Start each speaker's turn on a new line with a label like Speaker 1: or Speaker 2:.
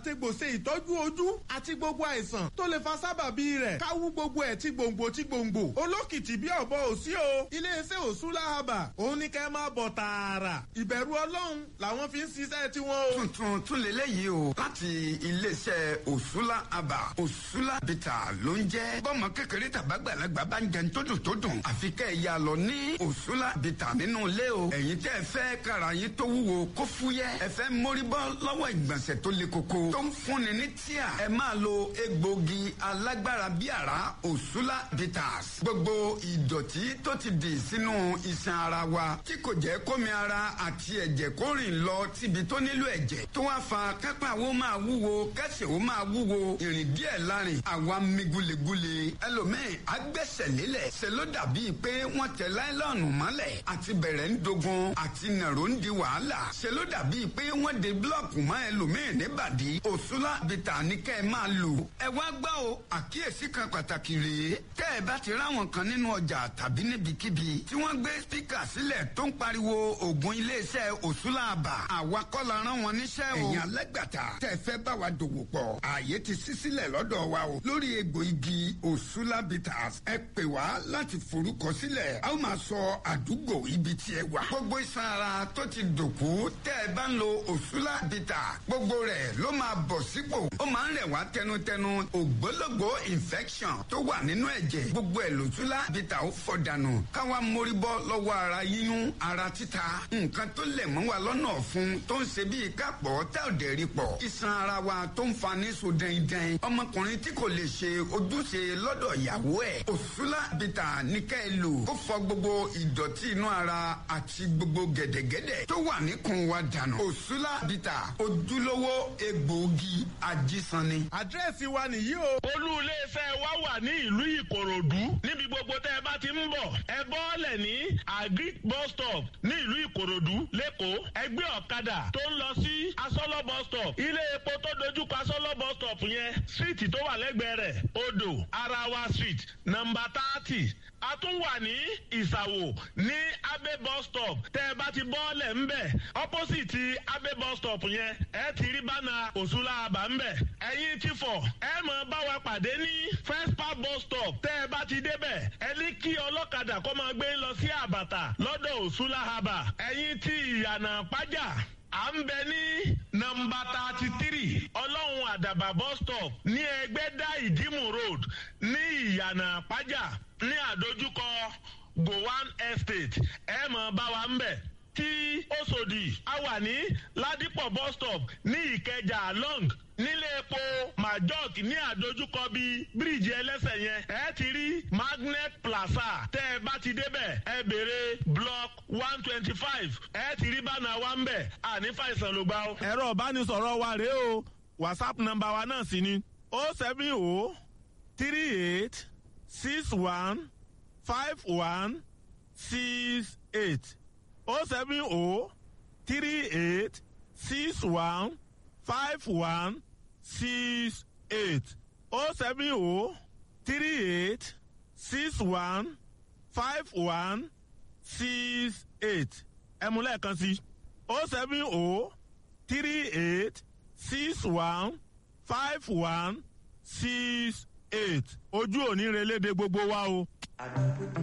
Speaker 1: àtegbò ṣe ìtọ́jú ojú àti gbogbo àìsàn tó lè fa sábàbí rẹ̀, káwú gbogbo ẹ̀ tí gbòǹgbò tí gbòǹgbò. Olókìtì bí ọ̀bọ òsí o. Iléeṣẹ́ Òṣùlá Herbal òun ní kẹ́ máa bọ̀ tààrà. Ìbẹ̀rù Ọlọ́run làwọn fi ń ṣiṣẹ́ tiwọn o.
Speaker 2: Tuntun tún lélẹ́yìí o, láti iléeṣẹ́ Òṣùlá Herbal. Òṣùlá Bitter ló ń jẹ́. Bọ́mọ kékeré tàbágbàlagbà bá ń jẹun tó dùn tó dùn, àfi kẹ́ ẹ̀ ya lọ ní Òṣùlá Bitter nínú ilé o. Ẹ̀yin tẹ́ ẹ fẹ́ kára yín tó wúwo kó fúyẹ́, ẹ fẹ́ mórí bọ́ lọ́wọ́ ìgbọ̀nsẹ̀ tó le koko tó ń fúnni ní tíà, ẹ máa lo egbògi alágbára bí àrá Òṣùlá Bitters. Gbogbo ìdọ̀tí tó ti dì sínú iṣan ara wa tí kò jẹ́ kómi ara àti ẹ̀jẹ̀ kó rìn lọ síbi tó nílò ẹ̀jẹ̀, tó wá fa kápá wo máa wúwo, kẹsẹ̀ wo máa wúwo, ìrìn díẹ̀ lárin àwa mi gulegule. Ẹlòmíì agbẹ́sẹ̀ lélẹ̀, ṣe ló dàbíi pé wọ́n tẹ láìlọ́ọ̀nù mọ́lẹ̀, àti bẹ̀rẹ̀ ń dogun, àti nàró ń di wàhálà, ṣe ló dàbíi pé wọ́n de búlọ̀kù mọ́ ẹlòmíì níbàdí. Òṣùlá Bitter ní kẹ́ ẹ máa lò. Ẹ wá gbọ́ o, àkíyèsí kan pàtàkì rèé. Tẹ́ ẹ bá ti ráwọn kan nínú ọjà tàbí níbikíbi tí wọ́n gbé spíkà sílẹ̀ tó ń pariwo ògùn iléeṣẹ́ Òṣùlá Herbal, àwa kọ́ la rán wọn níṣẹ́ o. Ẹ̀yin alágbàtà tẹ́ fẹ́ bá wa dòwò pọ̀, ààyè ti ṣí sílẹ̀ lọ́dọ̀ wa o lórí egbò igi Òṣùlá Bitters. Ẹ pè wá láti forúkọ sílẹ̀, a ó máa sọ àdúgbò ibi tí ẹ wà. Gbogbo iṣan ara tó ti dòkú, tẹ́ ẹ bá ń lo Òṣùlá Bitter, gbogbo rẹ̀ ló máa bọ̀ sípò. Ó máa ń rẹ̀ wá tẹnutẹnu. Ògbólógbò infection tó wà nínú ẹ̀jẹ̀, gbogbo ẹ̀ lòṣùlá Bitter ó fọ̀ dànù. Káwa mórí bọ́ lọ́wọ́ ara yíyún, ara títa, nǹkan tó lẹ̀ mọ́ wa lọ́nà ọ̀fun tó ń ṣe bíi kápọ̀ tá ò dẹ̀ rí pọ̀, iṣan ara wa tó ń fa ní so dẹ́ndẹ́n, ọmọkùnrin tí kò lè ṣe ojúṣe lọ́dọ̀ ìyàwó ẹ̀, Òṣùlá Bitter ní ká ẹ lò. Ó fọ gbogbo ìdọ̀tí inú ara àti gbogbo gẹ̀dẹ̀gẹ̀dẹ̀ tó wà níkùn wa dànù. Òṣùlá Bitter, ojúlówó egbòogi ajísanni.
Speaker 1: Àdírẹ́sì wa nìyí o.
Speaker 3: Olú iléeṣẹ́ wa wà ní ìlú Ìkòròdú. Níbi gbogbo tẹ́ ẹ bá ti ń bọ̀, ẹ bọ́ọ̀lẹ̀ ní Agric bus stop ní ìlú Ìkòròdú lẹ́kọ̀ọ́. Ẹ gbé ọ̀kadà tó ń lọ sí Asọ́lọ́ bus stop. Ilé epo tó dojúkọ Asọ́lọ́ bus stop yẹn, street tó wà lẹ́gbẹ̀ẹ́ rẹ̀, Odò Arawa Street, nọ́mbà 30. A tún wà ní Ìsàwò ní Abe bus stop. Tẹ́ ẹ bá ti bọ́ọ̀lẹ̀ ńbẹ̀, opposite Abe bus stop yẹn, ẹ ti rí bánà Òṣùlá Herbal ńbẹ̀. Ẹ̀yin ti fọ̀, ẹ mọ̀ bá wa pàdé ní First Park bus stop. Tẹ́ ẹ bá ti débẹ̀, ẹ ní kí ọlọ́kadà kó máa gbé lọ sí Àbàtà lọ́dọ̀ Òṣùlá Herbal. Ẹ̀yin ti Ìyànà Pájà, à ń bẹ ní nọ́mbà 33 Ọlọ́run Àdàbà bus stop ní Ẹgbẹ́dá Ìdímù Road ní Ìyànà Pájà ní àdójúkọ Gowan Estate. Ẹ mọ̀ bá wa ń bẹ̀. Tí Òṣòdì, a wà ní Ládìpọ̀ bus stop ní Ìkẹjà long nílé epo Majok ní àdójúkọ bíi bíríìjì ẹlẹ́sẹ̀ yẹn, ẹ ti rí Magnet Plaza. Tẹ́ ẹ bá ti débẹ̀, ẹ béèrè block 125, ẹ ti rí bánà wa ń bẹ̀. Àní fàìsàn ló gbà ó.
Speaker 1: Ẹ̀rọ ìbánisọ̀rọ̀ wa rèé o, WhatsApp nọ́mbà wa náà sì ni 07038615168, 07038615168, 07038615168. Ẹ mú lẹ́ẹ̀kan sí, 07038615168. Ojú òní relédè gbogbo wa o.